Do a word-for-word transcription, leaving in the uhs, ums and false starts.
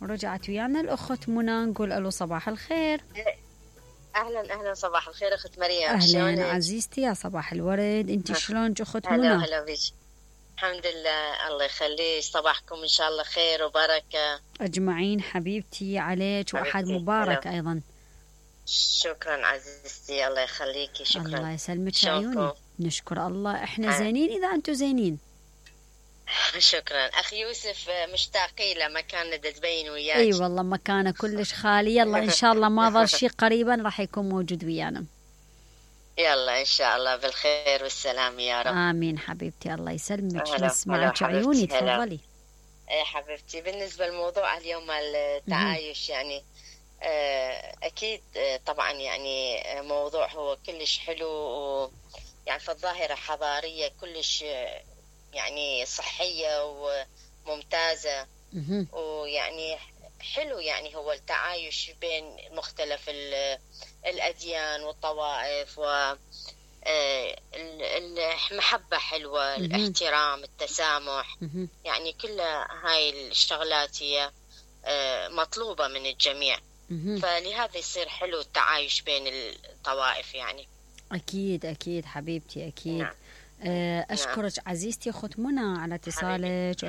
ورجعت ويانا الأخت منى، نقول ألو صباح الخير. اهلا اهلا صباح الخير اخت مريم. أهلا شلونك؟ عزيزتي يا صباح الورد، انت شلونك اخت هلا منى؟ وهلا بك. الحمد لله الله يخليك، صباحكم ان شاء الله خير وبركه أجمعين حبيبتي عليك، وأحد حبيبتي. مبارك هلا. أيضا. شكرا عزيزتي، الله يخليكي. شكرا. الله يسلمك شلونكم؟ عيوني. نشكر الله، احنا ها. زينين إذا أنتم زينين. شكرا. اخي يوسف مشتاقين له، ما كان تبين وياك. اي والله مكانه كلش خالي، يلا ان شاء الله ما ظل شيء قريبا راح يكون موجود ويانا. يلا ان شاء الله بالخير والسلام يا رب. امين حبيبتي، الله يسلمك. هلا. نسمعك هلا عيوني، حبيبتي. هلا. تفضلي. ايه حبيبتي، بالنسبه لموضوع اليوم التعايش يعني آه، اكيد آه، طبعا يعني آه، موضوع هو كلش حلو، و يعني في الظاهره حضاريه كلش آه، يعني صحيه وممتازه، مهم. ويعني حلو يعني هو التعايش بين مختلف ال- الاديان والطوائف، و آه، ال- المحبه حلوه، مهم. الاحترام، التسامح، مهم. يعني كل هاي الشغلات هي آه، مطلوبة من الجميع. مهم. فلهذا يصير حلو التعايش بين الطوائف يعني. اكيد اكيد حبيبتي اكيد. نعم. آه، اشكرك عزيزتي اخت منى على اتصالك، حياتي.